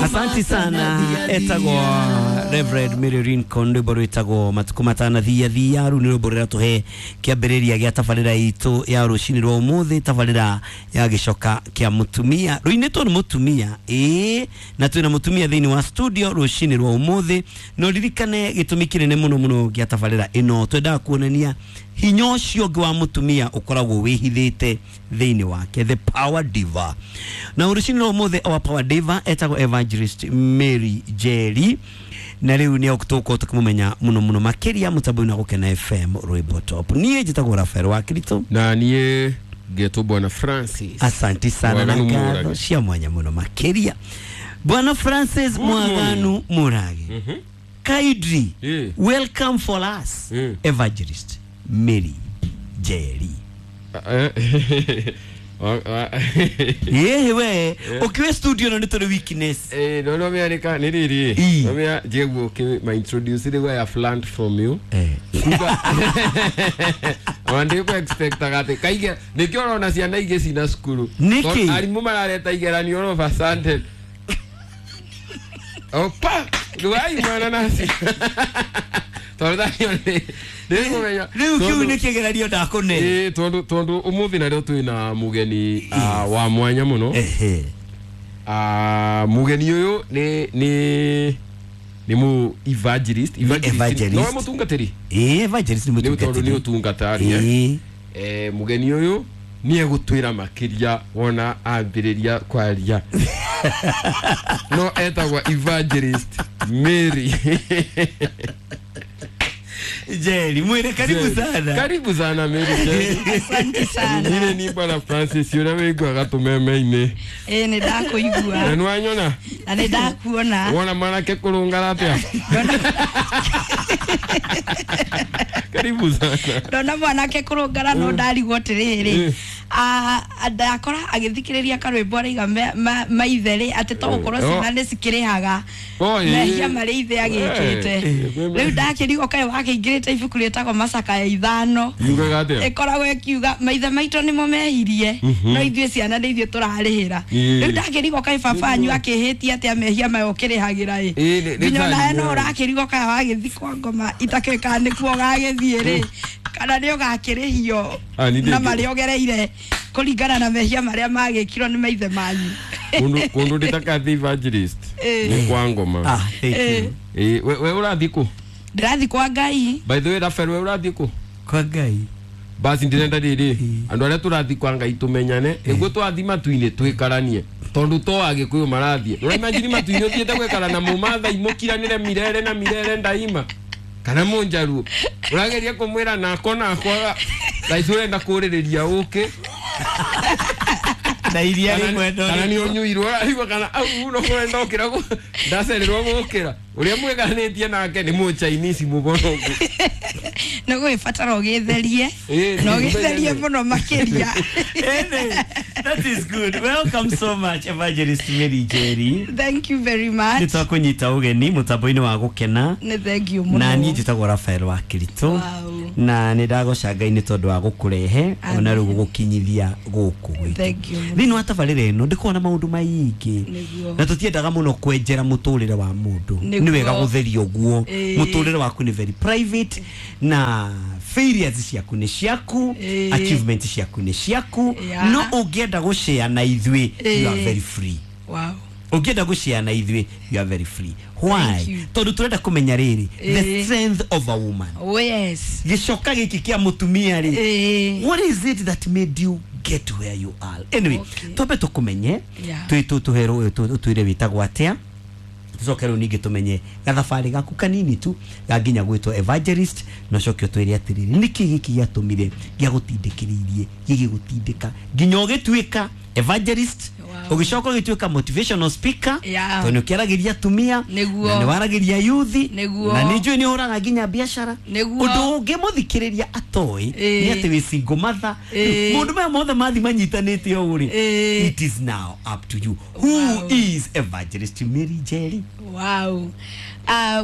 Asanti sana etagwo Reverend Mary Rincon, rwimbo rwĩtagwo Matukũ Matanathia Thia. Rũu nĩ rwĩmbo rũrĩa tũhe kĩambĩrĩria gĩa tabarĩra itũ ya rũcinĩ rwa ũmũthĩ, tabarĩra ya gĩcoka kĩa mũtumia rũinĩtwo nĩ mũtumia. Ĩĩ, na twĩna mũtumia thĩinĩ wa studio rũcinĩ rwa ũmũthĩ. No ririkane gĩtũmi kĩnene mũno mũno gĩa tabarĩra ĩno, twendaga kuonania hinya ũcio ũngĩ wa mũtumia ũkoragwo wĩhithĩte thĩinĩ wake, the power diva. Na rũcinĩ rwa ũmũthĩ our power diva etagwo Evangelist Mary Njeri, na rĩu nĩ tũgũkorwo tũkĩmũmenya mũno mũno makĩria mũtambo-inĩ wa Gũkena FM, rwĩmbo top. Niĩ njĩtagwo Rafael wa Kirito. Na niĩ ngetwo Bwana Francis. Asanti sana na Mwaganu ngatho Mũrage. cia mwanya mũno makĩria, Bwana Francis. Good morning. Mwaganu Mũrage, kindly welcome for us Evangelist Mary Njeri. Yehe, we ukiwe studio no nĩ tũrĩ weakness. No no mearika nĩ rĩrĩ. Ii. No mea jeguo ki ma introduce rĩu, I have learned from you. Kuga wandĩ expectaga atĩ kaige nĩkĩo ũrona ciana ingĩ cina cukuru. Nĩkĩ? Tondũ arimũ marareta igeranio all of a sudden opa rwai mwana naci tondũ thacio nĩ nĩkũmenya. Rĩu kĩu nĩ kĩgeranio ndakũne. Ĩĩ, tondũ ũmũthĩ narĩo twĩna mũgeni wa mwanya mũno. Mũgeni ũyũ nĩ mũ evangelist. Evangelist. No mũtungatĩri. Ĩĩ, evangelist nĩ nĩ tondũ nĩ mũtungatĩri. ũtungata rĩ. Mũgeni ũyũ nĩ egũtwĩra makĩria wona ambĩrĩria kwaria, no etagwo Evangelist Mary Njeri, mwĩre karibu sana. Karibu sana, Mary Njeri. Asante sana. Nyine ni Bwana Francis ũrĩa wĩiguaga tũmeme-inĩ. Ĩĩ, nĩ ndakũigua. Na nĩwanyona? Na nĩ ndakuona. Wona mwanake kũrũngara atĩa? Karibu sana. Ndona mwanake kũrũngara, no ndarigwo atĩrĩrĩ, ndakora agĩthikĩrĩria karwĩmbo araiga maithe rĩ atĩ to gũkorwo ciana nĩ cikĩrĩhaga Oh, ĩĩ. mehia marĩa ithe agĩkĩte. Rĩu ndakĩrigwo kaĩ wakĩingĩrĩte ibuku rĩtagwo Macakaya 5. Yugaga atĩa? Ĩkoragwo ĩkiuga maithe maitũ nĩmo mehirie, no ithuĩ ciana nĩ ithuĩ tũrarĩhĩra. Rĩu ndakĩrigwo kaĩ baba wanyu akĩhĩtie atĩa mehia maya ũkĩrĩhagĩra ĩ? Nĩ Nginya onawe no tani. ũrakĩrigwo kaĩ wagĩthiĩ kwa ngoma itakĩũĩ kana nĩkuo ũgagĩthiĩ rĩ, kana nĩ ũgakĩrĩhio Ah, nĩ na ndĩngĩ- marĩa ũgereire kũringana na mehia marĩa magĩkirwo nĩ maithe manyu. Kũndũ ndĩtakathi evangelist nĩ kwa ngoma. Ah, thank you. Ĩĩ, we ũrathiĩ kũ? Ndĩrathiĩ kwa Ngai. By the way, Rafael, we ũrathiĩ kũ? Kwa Ngai. Basi ndĩrenda rĩrĩ, andũ arĩa tũrathiĩ kwa Ngai tũmenyane nĩguo twathiĩ matu-inĩ twĩkaranie, tondũ to Agĩkũyũ marathiĩ. Ũraimagine matu-inĩ ũthiĩte gwĩkara na mũmathai mũkiranĩre mirere na mirere ndaima, kana mũnjaruo ũrageria kũmwĩra nako nakwaga thaici ũrenda kũrĩrĩria ũkĩ Na iria kana rĩmwe. Kana nĩ ũnyuirwo ũraigua kana au no kũrenda ũkĩra ndacererwo gũkĩra ũrĩa mwĩganĩtie nake nĩ mũchainisi mũborogu. Nĩ gũgĩbatara ũgĩtherie na ũgĩtherie mũno makĩria. Anyway, that is good. Welcome so much, Evangelist Mary Njeri. Thank you very much. Nĩ twakũnyita ũgeni mũtambo-inĩ wa Gũkena. Nĩ thank you mũno. Na niĩ njĩtagwo Rafael wa Kirito. Na nĩ ndagoca Ngai nĩ tondũ wa gũkũrehe ona rĩu gũgũkinyithia gũkũ gwitũ. Thank you mũno. Thĩinĩ wa tabarĩra ĩno ndĩkoragwo na maũndũ maingĩ Nĩguo. na tũtiendaga mũno kwenjera mũtũrĩre wa mũndũ. Nĩ wega gũtheria ũguo. Mũtũrĩre waku nĩ very private, na failures ciaku nĩ ciaku, achievement ciaku nĩ ciaku. No ũngĩenda gũshare na ithuĩ, you are very free. Ũngĩenda gũshare na ithuĩ, you are very free. Why? Thank you. Tondũ tũrenda kũmenya rĩrĩ, the strength of a woman. Oh yes. Gĩcoka gĩkĩ kĩa mũtumia rĩ, what is it that made you get where you are? Anyway, twambe tũkũmenye. Tũherwo ũtwĩre wĩtagwo atĩa, tũcoke rĩu ningĩ tũmenye gathabarĩ gaku kanini tu ga nginya gwĩtwo evangelist, na ũcoke ũtwĩre atĩrĩrĩ, nĩkĩ gĩkĩ gĩatũmire gĩagũtindĩkĩrĩirie gĩgĩgũtindĩka nginya ũgĩtuĩka evangelist, ũgĩcoka ũgĩtuĩka motivational speaker, tondũ nĩ ũkĩaragĩria atumia Nĩguo. na nĩ waragĩria yuthi, Nĩguo. na nĩ njũĩ nĩ ũhũraga nginya biacara. Ũndũ ũngĩ mũthikĩrĩria atoĩ nĩ atĩ wĩ single mother. Maũndũ maya mothe mathi manyitanĩte ũũ rĩ, it is now up to you who is Evangelist Mary Njeri. Wow.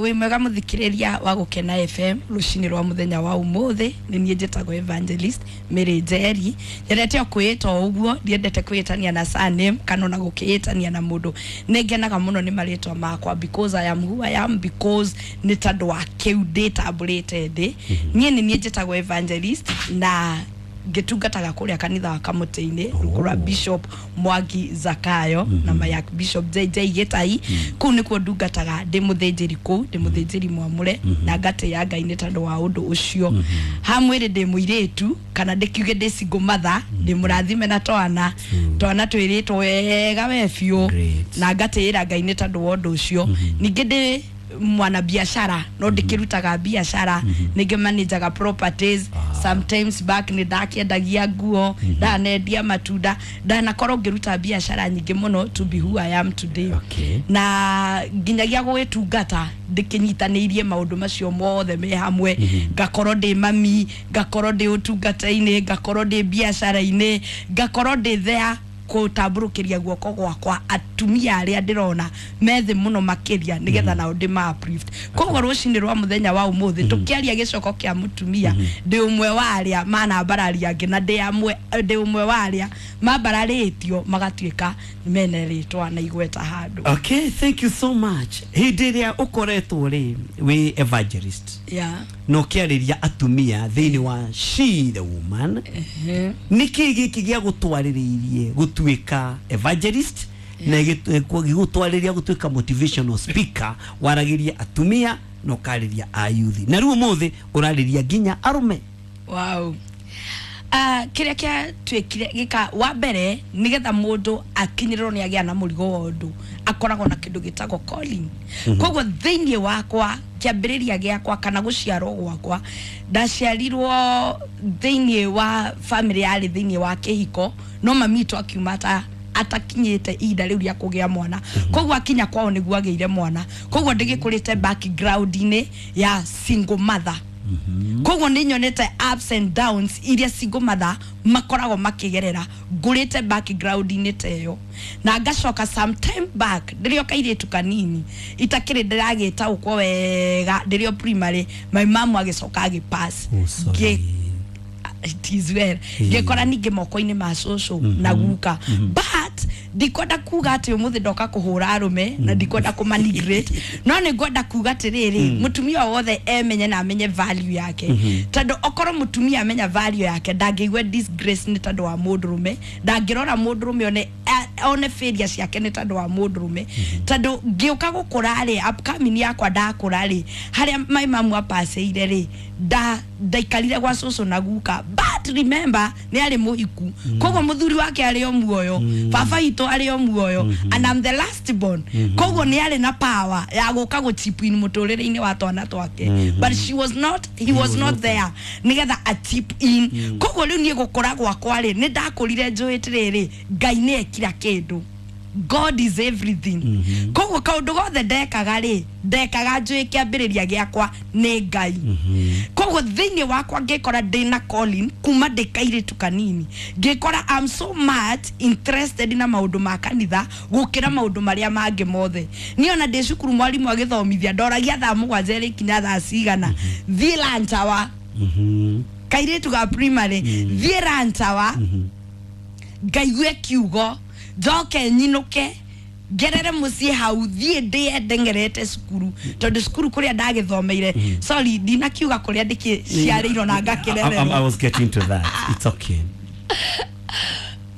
Wĩ mwega mũthikĩrĩria wa Gũkena FM rũcinĩ rwa mũthenya wa ũmũthĩ. Nĩ niĩ njĩtagwo Evangelist Mary Njeri. Nyendete o kwĩĩta o ũguo, ndiendete kwĩĩtania na surname. name kana ona gũkĩĩtania na mũndũ. Nĩ ngenaga mũno nĩ marĩtwa makwa because I am who I am, because nĩ tondũ wa kĩu ndĩtambũrĩte ndĩ. Niĩ nĩ niĩ njĩtagwo evangelist na ngĩtungataga kũrĩa kanitha wa Kamũtĩ-inĩ rungu rwa Bishop Mwangi Zakayo na Mayak Bishop JJ Gĩtai. Kũu nĩkuo ndungataga ndĩ mũthĩnjĩri kũu, ndĩ mũthĩnjĩri mwamũre na ngatĩĩa Ngai nĩ tondũ wa ũndũ ũcio. Ha mwĩrĩ ndĩ mũirĩtu kana ndĩkiuge ndĩ single mother, ndĩ mũrathime na twana twana twĩrĩtwo wega we biũ na ngatĩĩra Ngai nĩ tondũ wa ũndũ ũcio. Ningĩ ndĩ mwana biashara no ndikirutaga biashara, ningĩ manajaga properties. Sometimes back nĩ ndakiendagia nguo, ndanendia matunda, ndanakorwo ngĩruta biashara nyingĩ mũno to be who I am today. Na nginyagia gũgĩtungata ndĩkĩnyitanĩirie maũndũ macio mothe me hamwe, ngakorwo ndĩ mami, ngakorwo ndĩ ũtungata-inĩ, ngakorwo ndĩ biacara-inĩ, ngakorwo ndĩ there gũtambũrũkĩria guoko gwakwa atumia arĩa ndĩrona methĩ mũno makĩria nĩgetha nao ndĩma uplift. Koguo rũcinĩ rwa mũthenya wa ũmũthĩ tũkĩaria gĩcoko kĩa mũtumia, ndĩ ũmwe wa arĩa manambararia angĩ na ndĩ ũmwe wa arĩa mambararĩtio magatuĩka mene rĩtwa na igweta handũ. Okay, thank you so much. Hĩndĩ ĩrĩa ũkoretwo rĩ wĩ evangelist na ũkĩarĩria atumia thĩinĩ wa She the Woman, nĩkĩ gĩkĩ gĩa gũtwarĩrĩirie gũtuĩka evangelist na gĩgũtwarĩria gũtuĩka motivational speaker, waragĩria atumia na ũkarĩria a youth, na rĩu ũmũthĩ ũrarĩria nginya arũme? Wow. Kĩrĩa kĩatuĩkire gĩka wa mbere nĩgetha mũndũ akinyĩrĩrwo nĩ agĩa na mũrigo wa ũndũ akoragwo na kĩndũ gĩtagwo calling. Koguo thĩinĩ wakwa kĩambĩrĩria gĩakwa kana gũciarwo gwakwa, ndaciarirwo thĩinĩ wa family yarĩ thĩinĩ wa kĩhiko, no mami witũ akiuma atakinyĩte ihinda rĩu rĩa kũgĩa mwana, koguo akinya kwao nĩguo agĩire mwana, koguo ndĩgĩkũrĩte background-inĩ ya single mother. Koguo nĩ nyonete ups and downs iria single mother makoragwo makĩgerera, ngũrĩte background-inĩ ta ĩyo. Na ngacoka sometime back ndĩrĩ o kairĩtu kanini itakĩrĩ ndĩragĩtaũkwo wega, ndĩrĩ o primary, my mom agĩcoka agĩpass. It is well. Ngĩkora ningĩ moko-inĩ ma cũcũ na guka, but ndikwenda kuga atĩ ũmũthĩ ndoka kũhũra arũme na ndikwenda kũmanigrate, no nĩ ngwenda kuga atĩrĩrĩ, mũtumia wothe emenye na amenye value yake, tondũ okorwo mũtumia amenya value yake ndangĩigua disgrace nĩ tondũ wa mũndũrũme, ndangĩrora mũndũrũme one failure ciake nĩ tondũ wa mũndũrũme. Tondũ ngĩũka gũkũra rĩ, upcoming yakwa ndakũra rĩ, harĩa my mom apacĩire rĩ, ndaikarire gwa cũcũ na guka, but remember nĩ arĩ mũhiku, koguo mũthuri wake arĩ o muoyo, baba witũ arĩ o muoyo, and I'm the last born, koguo nĩ arĩ na power ya gũka gũ-chip in mũtũrĩre-inĩ wa twana twake, but she was not, he was not there nĩgetha a chip in. Koguo rĩu niĩ gũkũra gwakwa rĩ, nĩ ndakũrire njũĩ atĩrĩrĩ, Ngai nĩ ekira kĩndũ, God is everything. Koguo kaũndũ gothe ndekaga rĩ, ndekaga njũĩ kĩambĩrĩria gĩakwa nĩ Ngai. Koguo thĩinĩ wakwa ngĩkora ndĩna calling kuma ndĩ kairĩtu kanini, ngĩkora I'm so much interested na maũndũ ma kanitha gũkĩra maũndũ marĩa mangĩ mothe. Niĩ ona ndĩ cukuru mwarimũ agĩthomithia ndoragia thaa 7 ĩrĩkinya thaa cigana, thiĩ lunch hour. Kairĩtu ga primary, thiĩ lunch hour, ngaigue kiugo, njoke nyinũke ngerere mũciĩ hau, thiĩ ndĩe ndengerete cukuru, tondũ cukuru kũrĩa ndagĩthomeire, sorry ndinakiuga kũrĩa ndĩkĩciarĩirwo na ngakĩrererwo. I was getting to that. It's okay.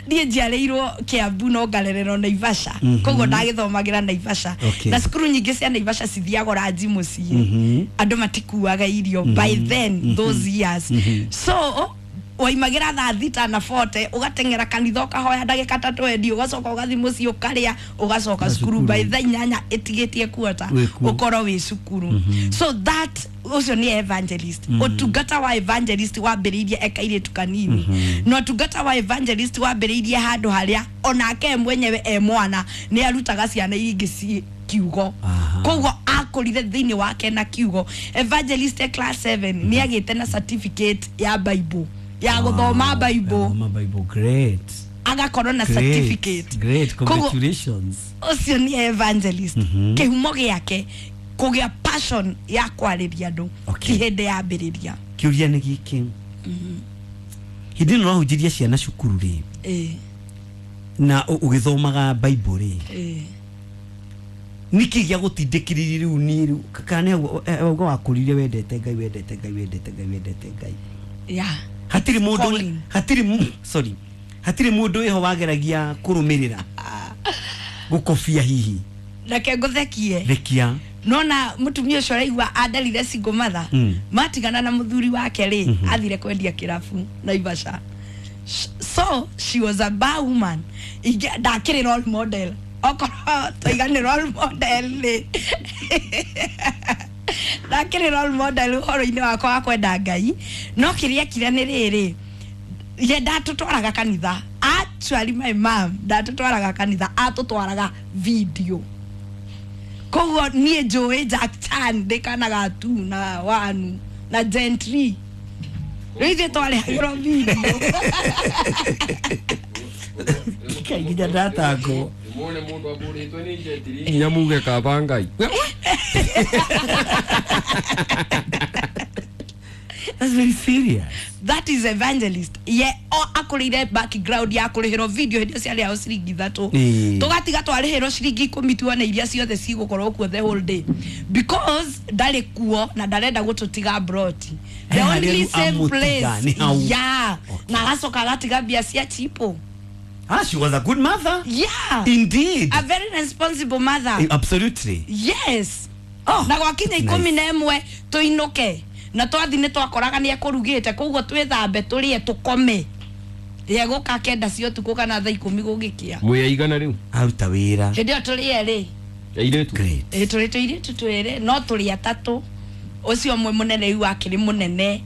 Niĩ njiarĩirwo Kiambu no ngarererwo Naivasha, koguo ndagĩthomagĩra Naivasha, na cukuru nyingĩ cia Naivasha cithiago ranji mũciĩ, andũ matikuaga irio by then those years. So waimagira thaa 6:40 ugateng'era kanitha ũkahoya ndagĩka 3 ũgacoka ũgathiĩ mũciĩ ũkarĩa ũgacoka cukuru by thaa 8 ĩtigĩtie kuota ũkorwo wĩ cukuru. So that ũcio nĩ evangelist. Ũtungata wa evangelist wambĩrĩirie ekairĩtu kanini, na ũtungata wa evangelist wambĩrĩirie handũ harĩa onake mwenyewe e mwana nĩ arutaga ciana ingĩ kiugo, koguo akũrire thĩinĩ wake na kiugo. Evangelist e class 7 nĩ agĩte na certificate ya Bible, ya gũthoma Bible. Great. Agakorwo na certificate. Great, congratulations. Ũcio nĩ evangelist. Kĩhumo gĩake kũgĩa passion ya kwarĩria andũ ti hĩndĩ yambĩrĩria. Kĩũria nĩ gĩkĩ, hĩndĩ ĩno ũrahunjĩria ciana cukuru rĩ, Na ũgĩthomaga Bible rĩ, nĩkĩ gĩa gũtindĩkĩrĩria rĩu niĩ rĩu kana nĩ auga wakũrire wendete Ngai, wendete Ngai, wendete Ngai, wendete Ngai? Yeah. Hatirĩ mũndũ Calling. hatirĩ sorry, hatirĩ mũndũ wĩho wageragia kũrũmĩrĩra, gũkobia hihi? Reke ngũthekie. Rekia. Nona mutumia ũcio ũraigua andarire single mother, matigana na mũthuri wake rĩ, athire kwendia kĩrabu Naivasha. So she was a bar woman. Ndakĩrĩ role model, okorwo twaiga nĩ role model rĩ, ndakĩrĩ role model ũhoro-inĩ wakwa wa kwenda Ngai. No kĩrĩa ekire nĩ rĩrĩ, ye ndatũtwaraga kanitha. Actually, my mom ndatũtwaraga kanitha, atũtwaraga video. Koguo niĩ njũĩ Jack Chan ndĩ kana ga tu na wanu na gentry. Rĩu ithuĩ twarehagĩrwo video. Kai, nginya ndatangwo. Muone mundu aburitwe ni jetiri nginya muge kaba Ngai. That's very serious. That is evangelist. Ye o akũrĩire background ya kũrĩhĩrwo video hĩndĩ ĩyo ciarĩhagwo ciringi 3. Tũgatiga twarĩhĩrwo ciringi 10 tuone iria ciothe cigũkorwo kuo the whole day, because ndarĩ kuo na ndarenda gũtũtiga broti the Eh, only harĩa same amũtiga, place. nĩ hau. Yeah. Na agacoka agatiga mbia cia chipo. Ah, she was a good mother. Yeah. Indeed. A very responsible mother. Absolutely. Yes. Oh, Na gwakinya nice. 11 tũinũke, na twathi nĩ twakoraga nĩ ekũrugĩte, koguo twĩthambe, tũrĩe, tũkome. Ye gũka 9 cia ũtukũ kana thaa 10 gũgĩkĩa. Mwĩ aigana rĩu? Aruta wĩra. Hĩndĩ ĩyo tũrĩ erĩ. Airĩtu? Great. Ĩ, tũrĩ tũirĩtu twĩrĩ, no tũrĩ atatũ. Ũcio ũmwe mũnene rĩu akĩrĩ mũnene,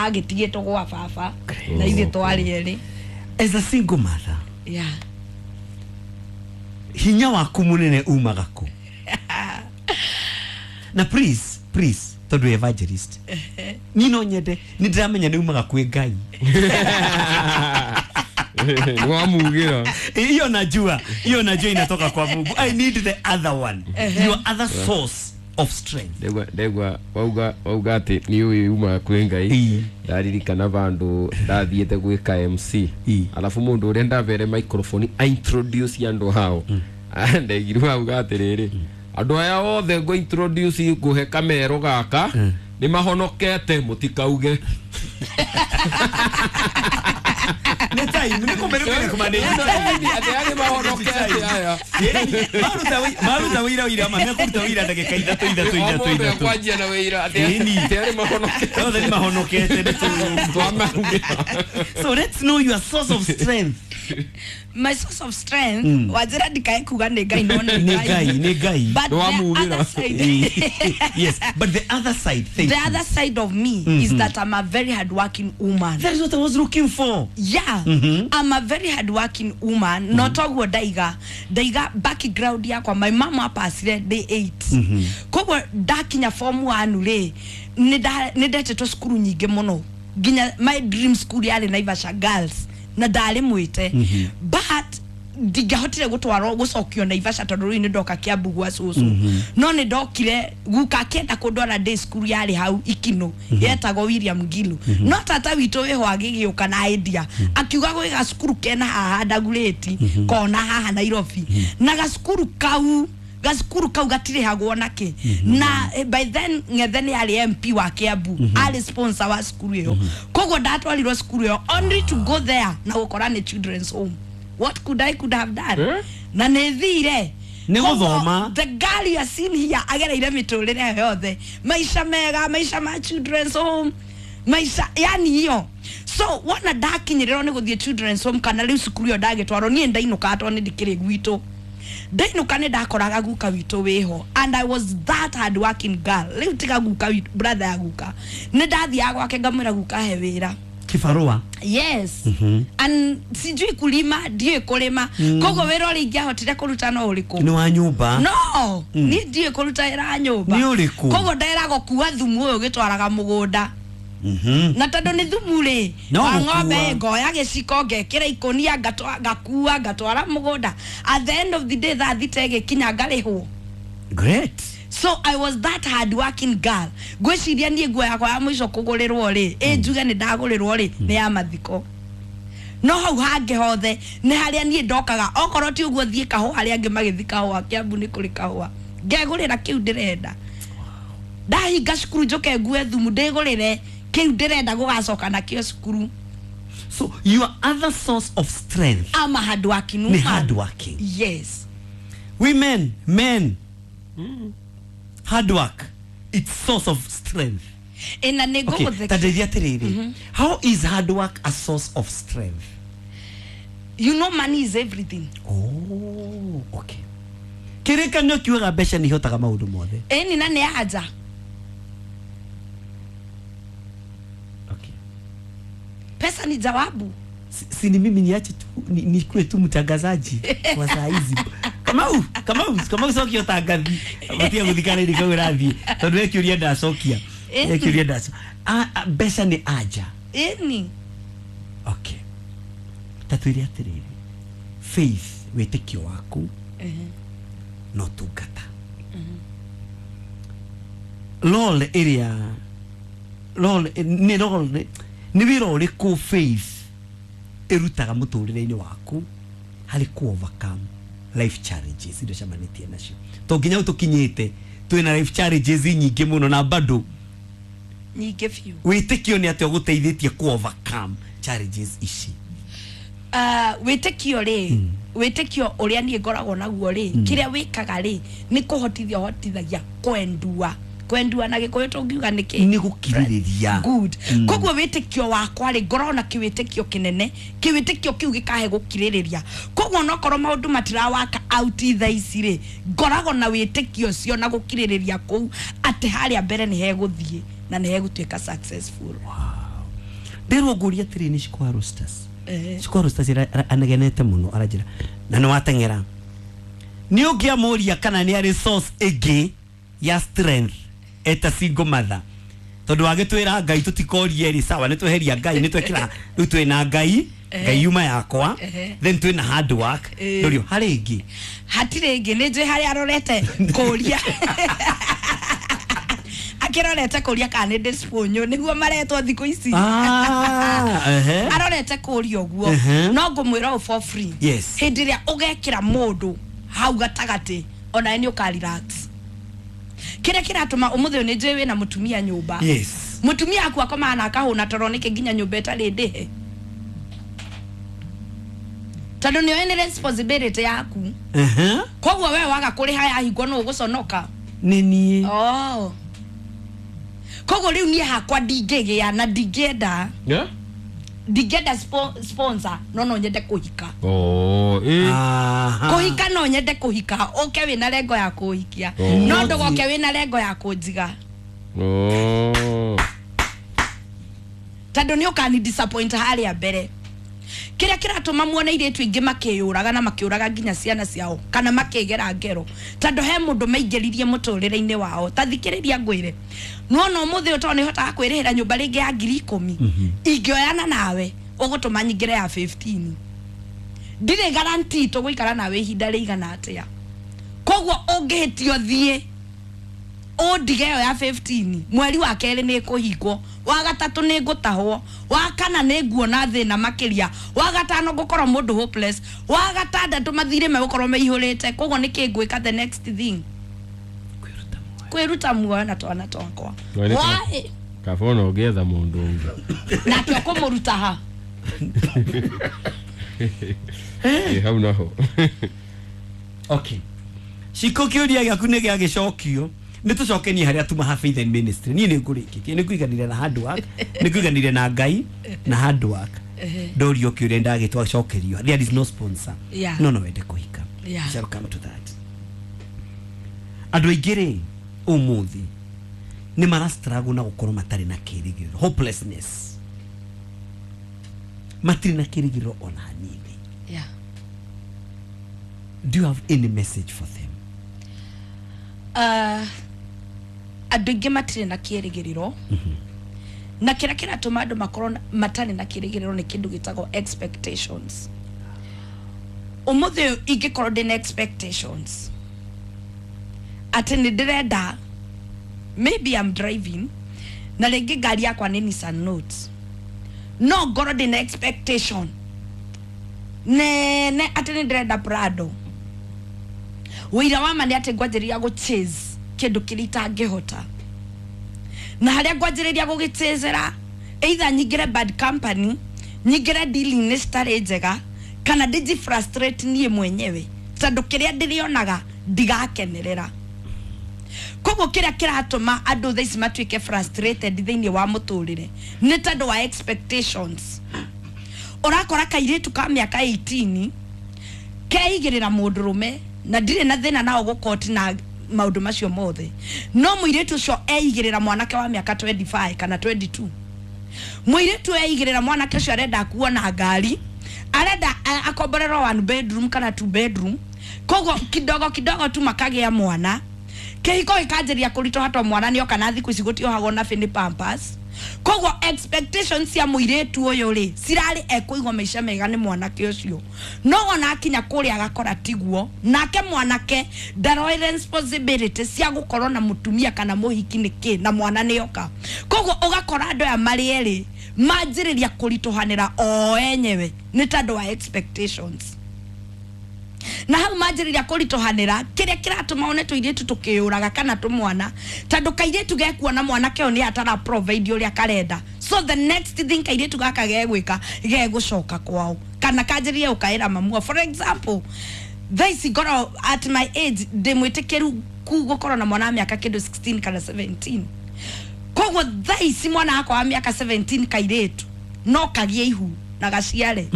agĩtigĩtwo gwa baba na ithuĩ twarĩ erĩ. As a single mother, Yeah. hinya waku munene umaga kũ? Na please, please, tondũ wĩ evangelist, niĩ no nyende, nĩ ndĩramenya nĩ umaga kwĩ Ngai. Nĩ wamugĩra. Hiyo najua, hiyo najua inatoka kwa Mungu. I need the other one, your other source of strength. Ndegwa wauga atĩ nĩ ũĩ umaga kwĩ Ngai. Ndaririkana vandũ ndathiĩte gwĩka MC. Alafu mũndũ ũrĩa ndavere microphone a introduce andũ hao, ndegirwo auga atĩrĩrĩ, andũ aya othe ngũ introduce, ngũhe kamero gaka, nĩ mahonokete, mũtikauge. Nĩ time nĩ kũmĩrũmĩrĩra kũmanĩra. Atĩ aya nĩ mahonokete aya. Maruta wĩra wĩra ma mekũruta wĩra ndagĩka ithatũ ithatũ O ithatũ mũndũ ithatũ. ekwanjia na wĩra atĩ atĩ aya nĩ mahonokete. Othe nĩ mahonokete nĩ Twamaugĩra. So let's know your source of strength. My source of strength, wanjĩra ndikae kuga nĩ Ngai, no nĩ Nĩ Ngai, nĩ Ngai. But the Nĩwamugĩra. other side, Yes, but the other side, thank the you. other side of me is that I'm a very hardworking woman. That is what I was looking for. Yeah. I'm a very hardworking woman. No toguo ndaiga, ndaiga background yakwa, my mama apacire day 8, koguo ndakinya form 1 rĩ, nĩ ndetĩtwo cukuru nyingĩ mũno, nginya my dream school yarĩ Naivasha Girls na ndarĩ mwĩte, but ndingĩahotire gũtwarwo gũcokio Naivasha tondũ rĩu nĩ ndoka Kiambu gwa cũcũ. No nĩ ndokire guka akĩenda kũndwara day school yarĩ hau Ikino yetagwo William Ngilu, no tata witũ wĩho agĩgĩũka na idea, akiuga gwĩ gacukuru kena haha Ndagurĩti kona haha Nairobi, na gacukuru kau gatirĩhagwo nakĩ. Na by then Ng'ethe nĩ arĩ MP wa Kiambu, arĩ sponsor wa cukuru ĩyo. Koguo ndatwarirwo cukuru ĩyo only to go there na gũkora nĩ children's home. What could I could have done? Eh? Na nĩ thire. Nĩ Koguo, gũthoma. the girl you are seeing here agereire mĩtũrĩre yothe, maisha mega, maisha ma children's home, maisha yani hiyo. So wona ndakinyĩrĩrwo nĩ gũthiĩ children's home kana rĩu cukuru ĩyo ndagĩtwarwo, niĩ ndainũkaga tondũ nĩ ndikĩrĩ gwitũ. Ndainũka nĩ ndakoraga guka witũ wĩho, and I was that hard working girl. Rĩu tiga guka witũ, brother ya guka, nĩ ndathiaga gwake ngamwĩra, "Guka, he wĩra." Kibarua. Yes. And sijui kulima, ndiũĩ kũrĩma, koguo wĩra ũrĩa ingĩahotire kũruta no ũrĩkũ? Nĩ wa nyũmba. No, niĩ ndiũĩ kũruta wĩra wa nyũmba. Nĩ ũrĩkũ? Koguo nderagwo kua thumu ũyũ ũgĩtwaraga mũgũnda, na tondũ nĩ thumu rĩ No wa gũkua. ng'ombe, ngoya gĩciko, ngekĩra ikũnia, ngakua ngatwara mũgũnda. At the end of the day, thaa 6 ĩgĩkinya, ngarĩhwo. Great. So I was that hard working girl. Ngwĩciria niĩ nguo yakwa ya mũico kũgũrĩrwo rĩ, ĩ njuge nĩ ndagũrĩrwo rĩ, nĩ ya mathiko. No hau hangĩ hothe nĩ harĩa niĩ ndokaga okorwo ti ũguo thiĩ kahũa harĩa angĩ magĩthiĩ kahũa Kiambu nĩ kũrĩ kahũa ngegũrĩra kĩu ndĩrenda. Ndahinga cukuru njoke ngue thumu ndĩgũrĩre kĩu ndĩrenda gũgacoka nakĩo cukuru. So your other source of strength ama hard working ni woman. hard working. Yes. Women, men, hard work, it's source of strength. Ĩna nĩ Okay, ngũgũtheka. ta atĩrĩrĩ, how is hard work a source of strength? You know money is everything. Oh, okay. Kĩrĩkanĩro kiugaga mbeca nĩ ihotaga maũndũ mothe. Ĩni na nĩ anja. Okay. Pesa ni jawabu. Si ni mimi niache tu nikuwe tu mtangazaji kwa saa hizi. Kamau cokia ũtangathi. Matia gũthikana kau ũrathiĩ. Tondũ we kĩũria ndacokia. We kĩũria ndacokia. Mbeca nĩ anja. Ĩni. Okay. Ta twĩre atĩrĩrĩ, faith, wĩtĩkio waku no tungata. Role ĩrĩa role nĩ role nĩ wĩra ũrĩkũ faith ĩrutaga mũtũrĩre-inĩ waku harĩ ku overcome life challenges iria ũcemanĩtie nacio? To nginya hau tũkinyĩte twĩna life challenges nyingĩ mũno na bado nyingĩ biũ. Wĩtĩkio nĩ atĩa ũgũteithĩtie ku overcome challenges ici? Wĩtĩkio rĩ, wĩtĩkio ũrĩa niĩ ngoragwo naguo rĩ, kĩrĩa wĩkaga rĩ nĩ kũhotithia ũhotithagia kwendua. Kwendua na Gĩkũyũ tũngiuga nĩ kĩ? Nĩ gũkirĩrĩria. Good. Koguo wĩtĩkio wakwa rĩ, ngoragwo na kĩwĩtĩkio kĩnene, kĩwĩtĩkio kĩu gĩkahe gũkirĩrĩria. Koguo onokorwo maũndũ matirawaka out thaa ici rĩ, ngoragwo na wĩtĩkio ũcio na gũkirĩrĩria kũu atĩ harĩa mbere nĩ hegũthiĩ na nĩ hegũtuĩka successful. Wow. Ndĩrwo ngũria atĩrĩ nĩ Shikwa Roasters. Shikwa Roasters anegenete mũno aranjĩra na nĩ wateng'era. Nĩ ũngĩamũria kana nĩ arĩ source ĩngĩ ya strength eta single mother. Tondũ wagĩtwĩra Ngai tũtikorie rĩ, sawa nĩ tweheria Ngai nĩ twekĩra rĩu twĩna Ngai, Ngai yuma yakwa, then twĩna hard work. Ndũrio harĩ ĩngĩ? Hatirĩ ĩngĩ, nĩ njũĩ harĩa arorete kũria. Akĩrorete kũria kana nĩ ndĩcibũnyũ nĩguo maretwo thikũ ici. Arorete kũria ũguo. No ngũmwĩra ũũ for free. Yes. Hĩndĩ ĩrĩa ũgekĩra mũndũ hau gatagatĩ onawe nĩ ũka relax. Kĩrĩa kĩratũma ũmũthĩ ũyũ nĩ njũĩ wĩna mũtumia nyũmba. Yes. Mũtumia aku akomaga na akahũna toro nĩkĩ nginya nyũmba ĩtarĩ ndĩhe? Tondũ nĩoĩ nĩ responsibility yaku. Koguo we waga kũrĩha yahingwo nũ ũgũconoka? Nĩ niĩ. Oh. Koguo rĩu niĩ hakwa ndingĩgĩa na ndingĩenda. Yeah? Ndingĩenda sponsor no nyende kũhika. Oh, Kũhika no nyende kũhika ũke wĩna lengo ya kũhikia. No ndũgoke wĩna lengo ya kũnjiga. Oh. Tondũ nĩ ũkani disappoint harĩa mbere. Kĩrĩa kĩratũma muone airĩtu aingĩ makĩyũraga na makĩũraga nginya ciana ciao kana makĩgera ngero tondũ he mũndũ maingĩririe mũtũrĩre-inĩ wao. Ta thikĩrĩria ngwĩre, nĩwona ũmũthĩ ũyũ tondũ nĩhotaga kwĩrĩhĩra nyũmba rĩngĩ ya 10,000, ingĩoyana nawe ũgũtũma nyingĩre ya 15. Ndirĩ guarantee tũgũikara nawe ihinda rĩigana atĩa. Koguo ũngĩhĩtio thiĩ ũndige ĩyo ya 15, mweri wa kerĩ nĩ ĩkũhingwo, wa gatatũ nĩ ngũtahwo, wa kana nĩ nguona thĩna makĩria, wa gatano ngũkorwo mũndũ hopeless, wa gatandatũ mathirĩ megũkorwo meihũrĩte. Koguo nĩkĩ ngwĩka the next thing? Kwĩruta muoyo na twana twakwa. Why? Kaba ona ũngĩetha mũndũ ũngĩ. Nake ũkũmũruta ha? Hau naho. Okay. Shiko kĩũria gĩaku nĩ gĩagĩcokio. Nĩ tũcokenie harĩa tuma ha Faith and Ministry. Niĩ nĩ ngũrĩkĩtie, nĩ ngũiganire na hard work, nĩ ngũiganire na Ngai na hard work. Ndorio kĩũria ndagĩtwacokerio. There is no sponsor. Yeah. No wende kũhika. Yeah. Shall come to that. Andũ aingĩ rĩ ũmũthĩ nĩ mara struggle na gũkorwo matarĩ na kĩĩrĩgĩrĩro, hopelessness. Matirĩ na kĩĩrĩgĩrĩro ona hanini. Yeah. Do you have any message for them? Andũ aingĩ matirĩ na kĩĩrĩgĩrĩro. Na kĩrĩa kĩratũma andũ makorwo matarĩ na kĩĩrĩgĩrĩro nĩ kĩndũ gĩtagwo expectations. Ũmũthĩ ũyũ ingĩkorwo ndĩna expectations atĩ nĩ ndĩrenda, maybe I'm driving na rĩngĩ ngari yakwa nĩ Nissan Note, no ngorwo ndĩna expectation Nene atĩ nĩ ndĩrenda Prado. Wĩira wa ma nĩ atĩ ngwanjĩrĩria gũ chase kĩndũ kĩrĩa itangĩhota. Na harĩa ngwanjĩrĩria gũgĩchasera, either nyingĩre bad company, nyingĩre dealing-inĩ citarĩ njega, kana ndĩji frustrate niĩ mwenyewe tondũ kĩrĩa ndĩrĩonaga ndigakenerera. Koguo kĩrĩa kĩratũma andũ thaa ici matuĩke frustrated thĩinĩ wa mũtũrĩre nĩ tondũ wa expectations. Ũrakora kairĩtu ka mĩaka 18 keigĩrĩra mũndũrũme, na ndirĩ na thĩna nao gũkoti na maũndũ macio mothe, no mũirĩtu ũcio eigĩrĩra mwanake wa mĩaka 25 kana 22. Mũirĩtu eigĩrĩra mwanake ũcio arenda kuona ngari, arenda akomborerwo one bedroom kana two bedroom, koguo kidogo kidogo tu makagĩa mwana, kĩhiko gĩkanjĩrĩria kũritũha to mwana nĩoka na thikũ ici gũtiohagwo na bĩnĩ pampers. Koguo expectations cia mũirĩtu ũyũ rĩ cirarĩ ekũigua maica mega nĩ mwanake ũcio, no ona akinya kũrĩa agakora tiguo, nake mwanake ndaroĩ responsibility cia gũkorwo na mũtumia kana mũhiki nĩ kĩ na mwana nĩoka. Koguo ũgakora andũ aya marĩ erĩ manjĩrĩria kũritũhanĩra o enyewe nĩ tondũ wa expectations. Na hau manjĩrĩria kũritũhanĩra, kĩrĩa kĩratũma one tũirĩtu tũkĩyũraga kana tũmwana, tondũ kairĩtu gekuona mwanake ũyũ nĩ atara provide ũrĩa karenda, so the next thing kairĩtu gaka gegwĩka gegũcoka kwao kana kanjĩrĩrie gũkaĩra mamua. For example, thaa ici ngorwo at my age ndĩ mwĩtĩkĩru gũkorwo na mwana wa mĩaka kĩndũ 16 kana 17. Koguo thaa ici mwana wakwa wa mĩaka 17 kairĩtu no kagĩe ihu na gaciare.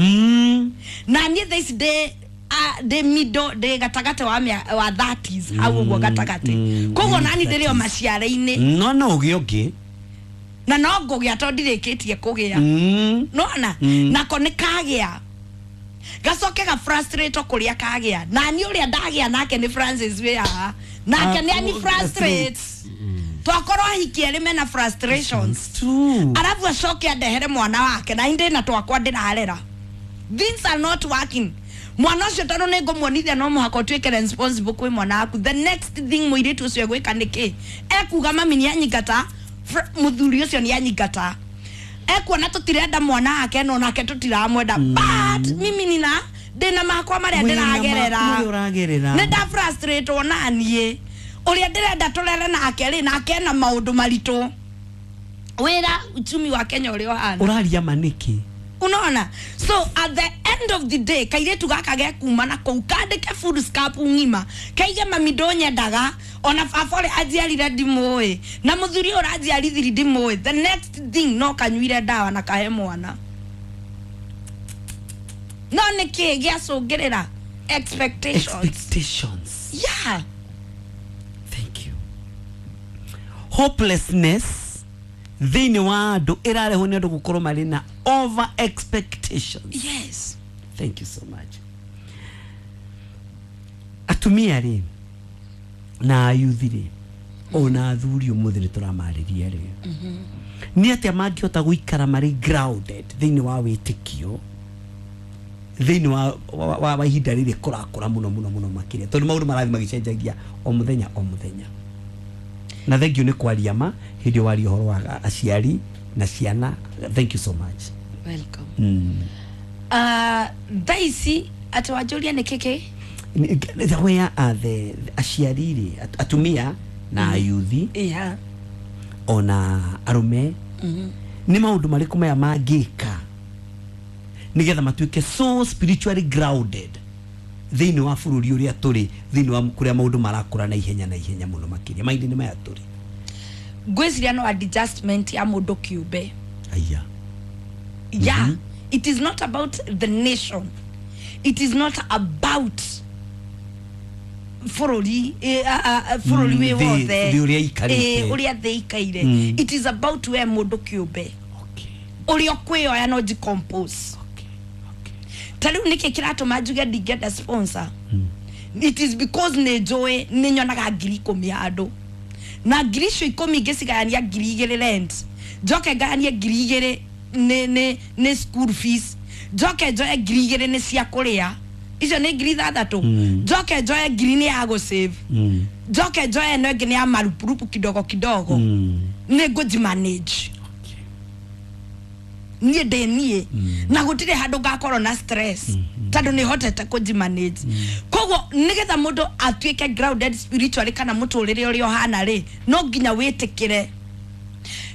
Na niĩ thaa ici ndĩ middle, ndĩ gatagatĩ wa wa 30s hau ũguo gatagatĩ. Koguo nani ndĩrĩ o maciara-inĩ. No ũgĩe ũngĩ. Na no ngũgĩa tondũ ndirĩkĩtie kũgĩa. Nona nako nĩ kagĩa gacoke ga frustrate kũrĩa kagĩa. Na niĩ ũrĩa ndagĩa nake nĩ Francis wĩ haha, nake nĩ ani frustrate. Twakorwo ahiki erĩ mena frustrations. Arabu acoke andehere mwana wake na indĩ na twakwa ndĩrarera. Things are not working. Mwana ũcio tondũ nĩ ngũmuonithia no mũhaka ũtuĩke responsible kwĩ mwana waku. The next thing mũirĩtu ũcio egwĩka nĩ kĩ? Ekuga mami nĩ anyingata, mũthuri ũcio nĩ anyingata, ekuona tũtirenda mwana wake no nake tũtiramwenda. But mimi nina ndĩna makwa marĩa ndĩragerera, nĩ nda frustrate ona niĩ ũrĩa ndĩrenda tũrere nake rĩ, nake ena maũndũ maritũ, wĩra uchumi wa Kenya ũrĩa ũhana. Ũraria ma nĩkĩ? Unaona? So at the end of the day kairĩtu gaka gekuma na kũu kandĩke food scap ng'ima, kaige mami ndũnyendaga, ona baba ũrĩa anjiarire ndimũĩ, na mũthuri ũyũ ũranjiarithiri ndimũĩ. The next thing no kanyuire ndawa na kahe mwana. No nĩkĩ gĩacũngĩrĩra? Expectations. Expectations. Yeah. Thank you. Hopelessness thĩinĩ wa andũ ĩrarehwo nĩ andũ gũkorwo marĩ na over expectations. Yes. Thank you so much. Atumia rĩ na ayuthi rĩ ona athuri ũmũthĩ nĩ tũramarĩria rĩ, nĩ atĩa mangĩhota gũikara marĩ grounded thĩinĩ wa wĩtĩkio thĩinĩ wa ihinda rĩrĩ kũrakũra mũno mũno mũno makĩria, tondũ maũndũ marathiĩ magĩcenjagia o mũthenya o mũthenya. Na thank you nĩ kwaria ma hĩndĩ waria ũhoro wa aciari na ciana. Thank you so much. Welcome. Thaa ici atĩ wanjũria nĩ kĩkĩ? Where are the aciari rĩ, atumia na ayuthi, yeah, ona arũme, nĩ maũndũ marĩkũ maya mangĩka nĩgetha matuĩke so spiritually grounded thĩinĩ wa bũrũri ũrĩa tũrĩ, thĩinĩ wa kũrĩa maũndũ marakũra na ihenya na ihenya mũno makĩria mahinda-inĩ maya tũrĩ? Ngwĩciria no adjustment ya mũndũ kĩũmbe. Aya. Yeah. It is not about the nation. It is not about bũrũri bũrũri wĩ wothe, ũrĩa thĩ ikaire. It is about we mũndũ kĩũmbe. Ũrĩa ũkwĩoya no decompose. Ta rĩu nĩkĩ kĩratũma njuge ndingĩenda sponsor? It is because nĩ njũĩ nĩ nyonaga 10,000 handũ, na 10,000 icio ngĩcigayania 2,000 rent, njoke ngayanie 2,000 nĩ school fees, njoke njoe 2,000 nĩ cia kũrĩa, icio nĩ 6,000, njoke njoe 1,000 nĩ ya gũsave, njoke njoe ĩno ĩngĩ nĩ ya marupurupu kidogo kidogo, nĩ ngũjimanage. Niĩ ndĩ niĩ na gũtirĩ handũ ngakorwo na stress tondũ nĩ hotete kũnjimanage. Koguo nĩgetha mũndũ atuĩke grounded spiritually kana mũtũrĩre ũrĩa ũhana rĩ, no nginya wĩtĩkĩre.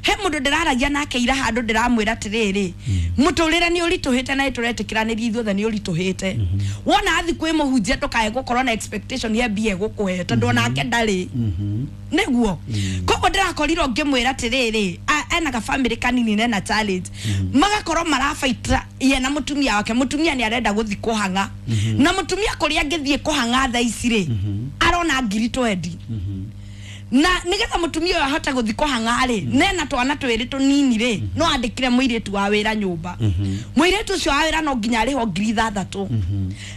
He mũndũ ndĩraragia nake ira handũ ndĩramwĩra atĩrĩrĩ, mũtũrĩre nĩ ũritũhĩte na nĩtũretĩkĩranĩria ithuothe nĩ ũritũhĩte. Wona athi kwĩ mũhunjia ndũkae gũkorwo na expectation ya mbia egũkũhe tondũ onake ndarĩ. Nĩguo koguo ndĩrakorirwo ngĩmwĩra atĩrĩrĩ, ena ga family kanini na ena challenge, magakorwo marabaita ye na mũtumia wake. Mũtumia nĩ arenda gũthiĩ kũhang'a na mũtumia kũrĩa angĩthiĩ kũhang'a thaa ici rĩ, arona 20,000. Na nigetha mutumia ũyũ ahote gũthiĩ kũhang'a rĩ, nena twana twĩrĩ tũnini rĩ, no andĩkire mũirĩtu wa wĩra nyũmba. Mũirĩtu ũcio wa wĩra no nginya arĩhwo 6,000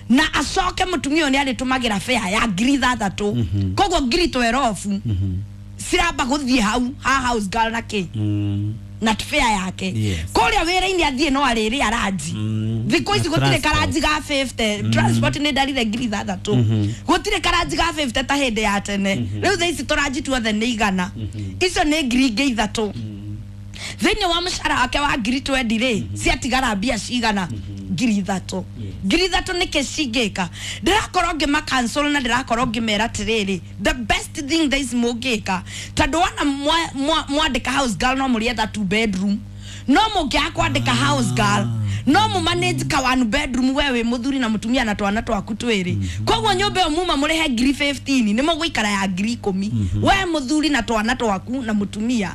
na acoke mũtumia ũyũ nĩ arĩtũmagĩra fare ya 6,000. Koguo 12,000 ciramba gũthiĩ hau ha house girl na kĩ na fare yake. Kũrĩa wĩra-inĩ athiĩ no arĩrĩa ranji. Thikũ ici gũtirĩ karanji ga 50. Transport nĩ ndarire 6,000. Gũtirĩ karanji ga 50 ta hĩndĩ ya tene. Rĩu thaa ici tũranji tuothe nĩ 100. Icio nĩ 3,000. Thĩinĩ wa mũcara wake wa 20,000 rĩ, ciatigara mbia cigana? 3,000. 3,000 nĩkĩ cingĩka? Ndĩrakorwo ngĩma cancel na ndĩrakorwo ngĩmera atĩrĩrĩ, the best thing thaa ici mũngĩka, tondũ wona mwandĩka house girl no mũrĩetha 2 bedroom, no mũngĩaga kwandĩka house girl no mũmanage ka 1 bedroom, we wĩ mũthuri na mũtumia na twana twaku twĩrĩ. Koguo nyũmba ĩyo muma mũrĩhe 15,000 nĩ mũgũikara ya 10,000, we mũthuri na twana twaku na mũtumia.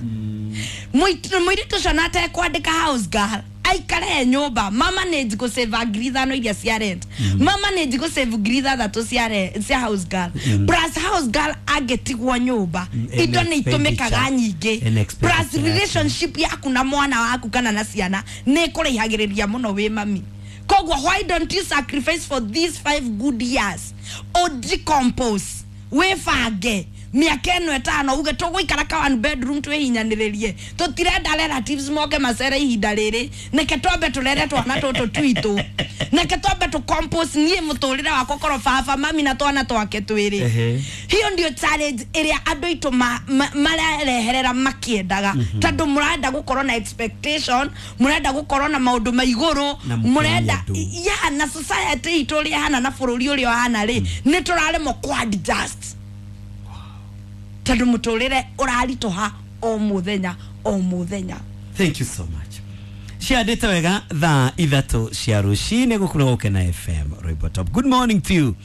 Mũirĩtu ũcio na atekwandĩka house girl aikare nyũmba, mamanage gũsave 5,000 iria cia rent, mamanage gũsave 6,000 cia house girl, plus house girl angĩtigwo nyũmba indo nĩ itũmĩkaga nyingĩ, plus relationship yaku na mwana waku kana na ciana nĩ ĩkũraihagĩrĩria mũno wĩ mami. Koguo why don't you sacrifice for these 5 good years, o decompose, wĩbange mĩaka ĩno 5 uge tũgũikara ka 1 bedroom twĩhinyanĩrĩrie, tũtirenda relatives moke macere ihinda rĩrĩ, neke twambe tũrere twana tũtũ twitũ, neke twambe tũ compose niĩ mũtũrĩre wakwa korwo baba mami na twana twake twĩrĩ. Hiyo ndio challenge ĩrĩa andũ aitũ mareherera makĩendaga, tondũ mũrenda gũkorwo na expectation, mũrenda gũkorwo na maũndũ ma igũrũ, mũrenda ya na society itũ ũrĩa ĩhana na bũrũri ũrĩa ũhana rĩ, nĩ tũraremwo kũ adjust tondũ mũtũrĩre ũraritũha o mũthenya o mũthenya. Thank you so much. Ciandĩte wega thaa 3 cia rũcinĩ gũkũ na Gũkena FM Rwĩmbo Top. Good morning to you.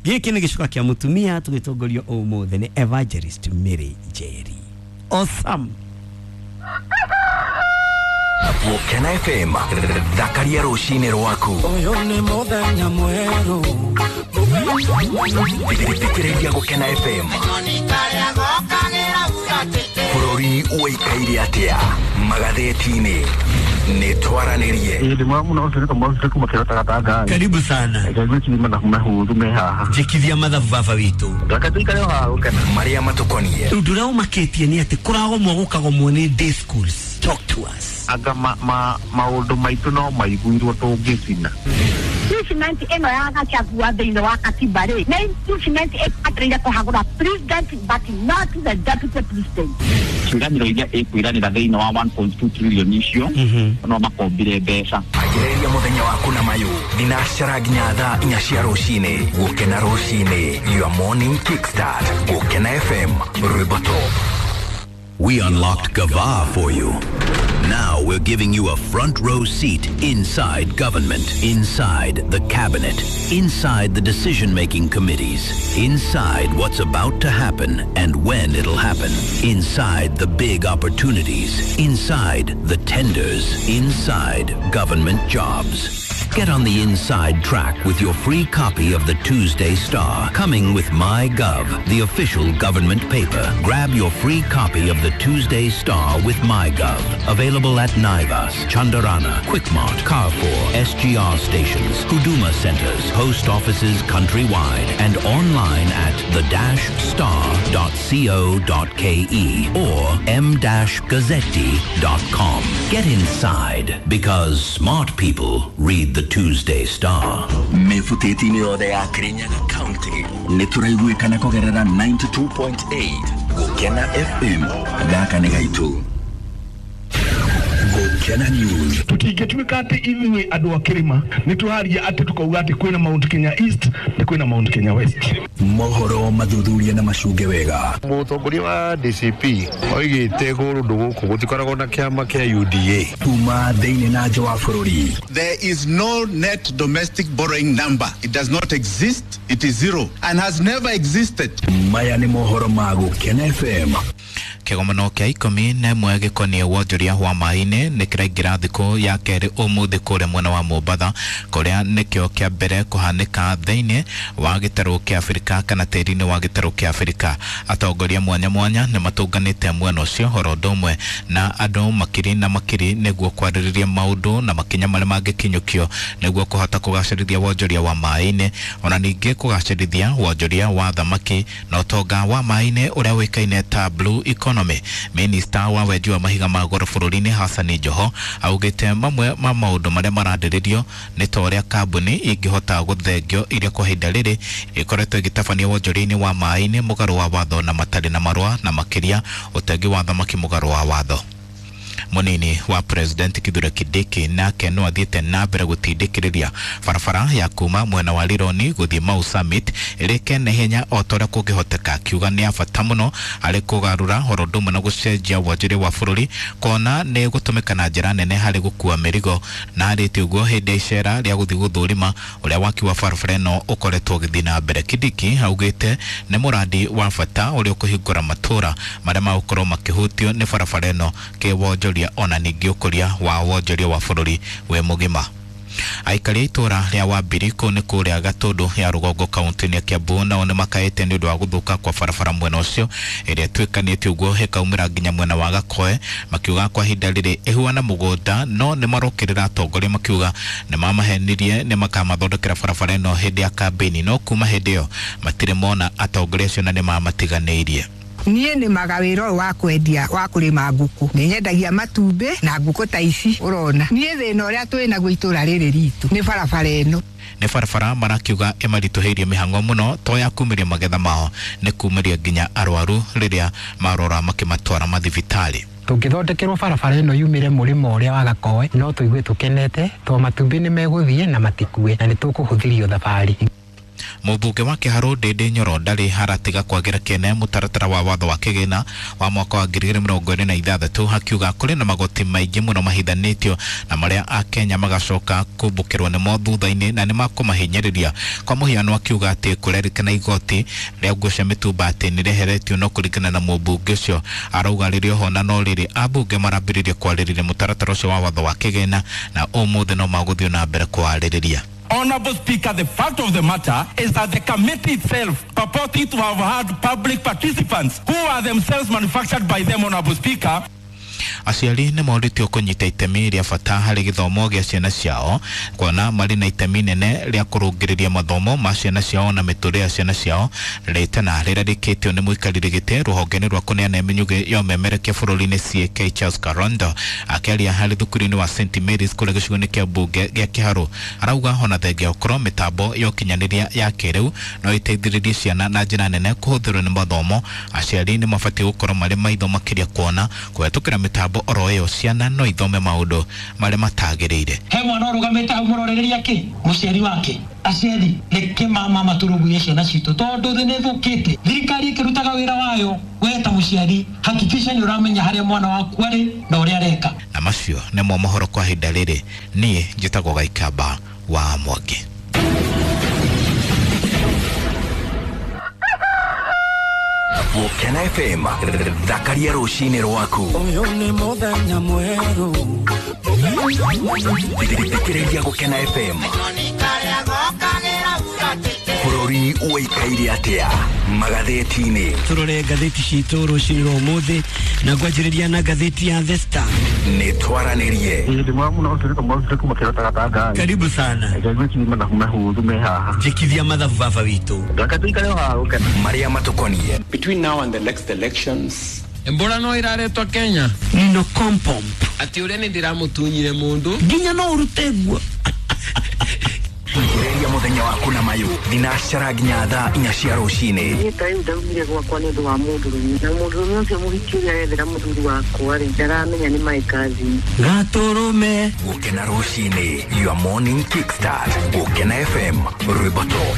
Gĩkĩ nĩ gĩcuka kĩa mũtumia tũgĩtongorio ũmũthĩ nĩ Evangelist Mary Njeri. Awesome. Gũkena FM, thakaria rũcinĩ rwaku. Ũyũ nĩ mũthenya mwerũ. Thikĩrĩria Gũkena FM. Bũrũri ũikaire atĩa magathĩti-inĩ nĩ twaranĩrie. Karibu sana. Njikithia mathabu baba witũ. Marĩa matũkonie. Ũndũ ũrĩa ũmakĩtie nĩ atĩ kũragomwo gũkagomwo nĩ day schools. Talk to us. Anga maũndũ maitũ no maiguirwo tũngĩcina. Impeachment ĩno ya Gachagua thĩinĩ wa katiba rĩ, nĩ impeachment ĩbataire kũhagũra president but not the deputy president. Ciĩranĩro iria ĩkwĩranĩra thĩinĩ wa 1.2 trillion icio no makombire mbeca. Anjĩrĩria mũthenya waku na mayũ thinacara nginya thaa 4 cia rũcinĩ. Gũkena rũcinĩ, your morning kickstart. Gũkena FM Rwĩmbo Top. We unlocked Gava for you. Now we're giving you a front row seat inside government, inside the cabinet, inside the decision-making committees, inside what's about to happen and when it'll happen, inside the big opportunities, inside the tenders, inside government jobs. Get on the inside track with your free copy of the Tuesday Star, coming with MyGov, the official government paper. Grab your free copy of the Tuesday Star with MyGov. Available at Naivas, Chandarana, Quickmart, Carrefour, SGR stations, Huduma centers, post offices countrywide, and online at the-star.co.ke or m-gazzetti.com. Get inside, because smart people read the Tuesday Star. Mĩbutĩti-inĩ yothe ya Kirinyaga County nĩ tũraiguĩkana kũgerera 92.8 Gũkena FM. Gaka nĩ gaitũ. Gukena News. Tutingĩtuĩka atĩ ithuĩ andũ a kĩrĩma nĩ tũraria atĩ tũkauga atĩ kwĩna Mount Kenya East na kwĩna Mount Kenya West. Mohoro mathuthuria na macunge wega. Mũtongoria wa DCP oigĩte kũndũ gũkũ gũtikoragwo na kĩama kĩa UDA. Kuma thĩinĩ na nja wa bũrũri. There is no net domestic borrowing number. It does not exist. It is zero and has never existed. Maya nĩ mohoro ma Gukena FM. Kĩgomano kĩa 11 gĩkoniĩ wonjoria wa maĩ-inĩ nĩ kĩraingĩra thikũ ya kerĩ ũmũthĩ kũrĩa mwena wa Mombatha, kũrĩa nĩkĩo kĩa mbere kũhanĩka thĩinĩ wa gĩtarũ kĩa Afrika kana tĩri-inĩ wa gĩtarũ kĩa Afrika. Atongoria mwanya mwanya nĩ matũnganĩte mwena ũcio oro ũndũ ũmwe na andũ makiri na makiri nĩguo kwarĩrĩria maũndũ na makinya marĩa mangĩkinyũkio nĩguo kũhota kũgacĩrithia wonjoria wa maĩ-inĩ, ona ningĩ kũgacĩrithia wonjoria wa thamaki na ũtonga wa maĩ-inĩ ũrĩa ũĩkaine ta blue economy. Minista wa wenji wa mahiga ma goro bũrũri-inĩ Hassan Joho augĩte mamwe ma maũndũ marĩa mararĩrĩrio nĩ ta ũrĩa kambuni ingĩhota gũthengio iria kwa ihinda rĩrĩ ikoretwo ĩgĩtabania wonjoria-inĩ wa maĩ-inĩ mũgarũ wa watho na matarĩ na marũa, na makĩria ũtegi wa thamaki mũgarũ wa watho. Munini wa President Kithure Kindiki nake no athiĩte na mbere gũtindĩkĩrĩria barabara ya kuma mwena wa Rironi gũthiĩ Mau Summit ĩrĩke na ihenya o ta ũrĩa kũngĩhoteka, akiuga nĩ ya bata mũno harĩ kũgarũra oro ũndũ ũmwe na gũcenjia wonjoria wa bũrũri, kuona nĩ gũtũmĩka na njĩra nene harĩ gũkua mĩrigo. Na arĩtie ũguo hĩndĩ ya icera rĩa gũthiĩ gũthũrima ũrĩa waki wa barabara ĩno ũkoretwo ũgĩthiĩ na mbere. Kindiki augĩte nĩ mũrandi wa bata ũrĩa ũkũhingũra matũra marĩa magũkorwo makĩhutio nĩ barabara ĩno kĩwonjoria ona ningĩ ũkũria wa wonjoria wa bũrũri wĩ mũgima. Aikari a itũra rĩa Wambiri kũu nĩ kũrĩa Gatũndũ ya rũgongo kaunti-inĩ ya Kiambu nao nĩ makaĩte nĩ ũndũ wa gũthũka kwa barabara mwena ũcio ĩrĩa ĩtuĩkanĩtie ũguo ĩkaumĩra nginya mwena wa Gakoe, makiuga kwa ihinda rĩrĩ ĩhuana mũgũnda, no nĩ marokĩrĩra atongoria makiuga nĩ mamahenirie nĩ makamathondekera barabara ĩno hĩndĩ ya kambĩini, no kuma hĩndĩ ĩyo matirĩ mona atongoria acio na nĩ mamatiganĩirie. Niĩ nĩmaga wĩra ũyũ wa kwendia wa kũrĩma ngũkũ, nĩ nyendagia matumbĩ na ngũkũ ta ici ũrona. Niĩ thĩna ũrĩa twĩ naguo itũra rĩrĩ ritũ nĩ barabara ĩno. Nĩ barabara marakiuga ĩmaritũhĩirie mĩhang'o mũno to ya kumĩria magetha mao, nĩ kumĩria nginya arwaru rĩrĩa marora makĩmatwara mathibitarĩ. Tũngĩthondekerwo barabara ĩno yumĩre mũrĩmo ũrĩa wa Gakoe no tũigue tũkenete to matumbĩ nĩ megũthiĩ na matikue na nĩ tũkũhũthĩrio thabarĩ. Mũmbunge wa Kĩharũ Ndĩndĩ Nyoro ndarĩ haratiga kwagĩra kĩene mũtaratara wa watho wa kĩgĩna wa mwaka wa 2026, akiuga kũrĩ na magoti maingĩ mũno mahithanĩtio na marĩa akenya magacoka kũmbũkĩrwo nĩmo thutha-inĩ na nĩmakũmahinyĩrĩria. Kwa mũhiano akiuga atĩ kũrerĩkana igoti rĩa nguo cia mĩtumba atĩ nĩrĩeheretio, no kũringana na mũmbunge ũcio arauga rĩrĩ oho na no rĩrĩ ambunge marambĩrĩria kwarĩrĩria mũtaratara ũcio wa watho wa kĩgĩna na ũmũthĩ no magũthiĩ na mbere kwarĩrĩria. Honorable Speaker, the fact of the matter is that the committee itself purporting to have had public participants who are themselves manufactured by them, Honorable Speaker. Aciari nĩ morĩtio kũnyita itemi rĩa bata harĩ gĩthomo gĩa ciana ciao, kuona marĩ na itemi nene rĩa kũrũngĩrĩria mathomo ma ciana ciao na mĩtũrĩre ya ciana ciao. Rĩtana rĩrĩa rĩkĩtio nĩ mũikarĩri gĩtĩ rũhonge-inĩ rwa kũneana mĩnyugĩ ya ũmemerekia bũrũri-inĩ CAK Charles Karondo akĩaria harĩ thukuru-inĩ wa St Mary's kũrĩa gĩcigo-inĩ kĩa mbunge gĩa Kĩharũ, arauga ona thengia ũkorwo mĩtambo ya ũkinyanĩria ya kĩrĩu no ĩteithĩrĩrie ciana na njĩra nene kũhũthĩrwo nĩ mathomo, aciari nĩ mabatiĩ gũkorwo marĩ maitho makĩria kuona kũhetũkĩra mĩtambo oro ĩyo ciana no ithome maũndũ marĩa matagĩrĩire. He mwana ũrũgamĩte hau mũrorereria kĩ mũciari wake. Aciari reke mama matũrũmbũiye ciana citũ tondũ thĩ nĩ ĩthũkĩte. Thirikari ĩkĩrutaga wĩra wayo, we ta mũciari hakikisha nĩ ũramenya harĩa mwana waku arĩ na ũrĩa areka. Na macio nĩmo mohoro kwa ihinda rĩrĩ. Niĩ njĩtagwo Gaikamba wa Mwangi. Gukena FM, thakaria rũcinĩ rwaku. Ũyũ nĩ mũthenya mwerũ. Thikĩrĩria Gukena FM. Bũrũri ũikaire atĩa magathĩti-inĩ? Tũrore ngathĩti citũ rũcinĩ rwa ũmũthĩ na ngwanjĩrĩria na ngathĩti ya The Star. Nĩ twaranĩrie. Karibu sana. Njĩkithia mathabu baba witũ. Marĩa matũkoniĩ. Between now and the next elections, Embora no iraretwo Kenya. Nino kompomp. Ati ũrĩa nĩ ndĩramũtunyire mũndũ. Nginya no ũrute guo. Ambĩrĩria mũthenya waku na mayũ thinacara nginya thaa 4 cia rũcinĩ. Niĩ ta rĩu ndaumire gwakwa nĩ ũndũ wa mũndũrũme, na mũndũrũme ũcio mũhiki ũrĩa arethera mũthuri wakwa rĩ, ndaramenya nĩ my cousin. Gatũrũme. Gũkena rũcinĩ, your morning kickstart. Gũkena FM, rwĩmbo top.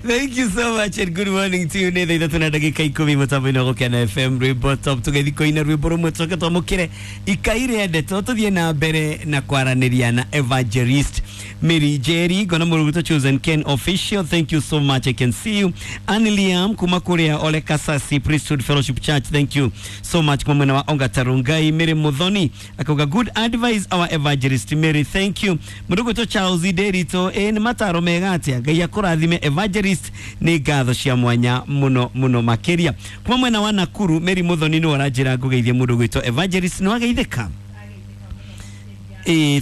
Thank you so much and good morning to you. Nĩ thaa 3:10 mũtambo-inĩ wa Gũkena FM, rwĩmbo top. Tũgĩthiĩ kũina rwĩmbo rũmwe tũcoke twamũkĩre ikai rĩa ndeto, tũthiĩ na mbere na kwaranĩria na Evangelist Mary Jerry ngona mũrũgũtũ Chosen Ken Official. Thank you so much, I can see you. Anne Liam kuma kũrĩa Ole Kasasi Priesthood Fellowship Church, thank you so much. Kuma mwena wa Ongata Rongai, Mary Muthoni akauga good advice our Evangelist Mary, thank you. Mũrũgũtũ Charles Derito, ĩ nĩ mataro mega atĩa, Ngai akũrathime Evangelist, nĩ ngatho cia mwanya mũno mũno makĩria. Kuma mwena wa Nakuru, Mary Muthoni nĩ aranjĩra ngũgeithie mũndũ gwĩtwo Evangelist, nĩ wageithĩka?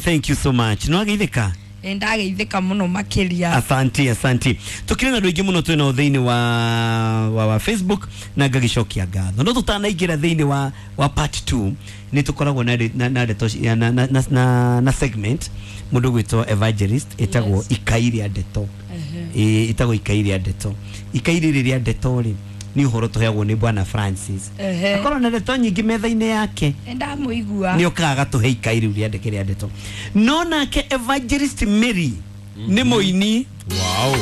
Thank you so much, nĩ wageithĩka? Ndageithĩka mũno makĩria. Asante, asante. Tukire na andũ aingĩ mũno twĩnao thĩinĩ wa Facebook na ngagĩcokia ngatho, no tũtanaingĩra thĩinĩ wa part 2 nĩ tũkoragwo na ndeto na segment mũndũ gwĩtwo Evangelist ĩtagwo ikai rĩa ndeto. Ĩtagwo ikai rĩa ndeto. Ikai rĩrĩ rĩa ndeto rĩ, nĩ ũhoro tũheagwo nĩ Bwana Francis. Akorwo na ndeto nyingĩ metha-inĩ yake, ndamũigua nĩ okaga agatũhe ikai rĩu rĩandĩke rĩa ndeto. No nake Evangelist Mary nĩ mũini. Wow.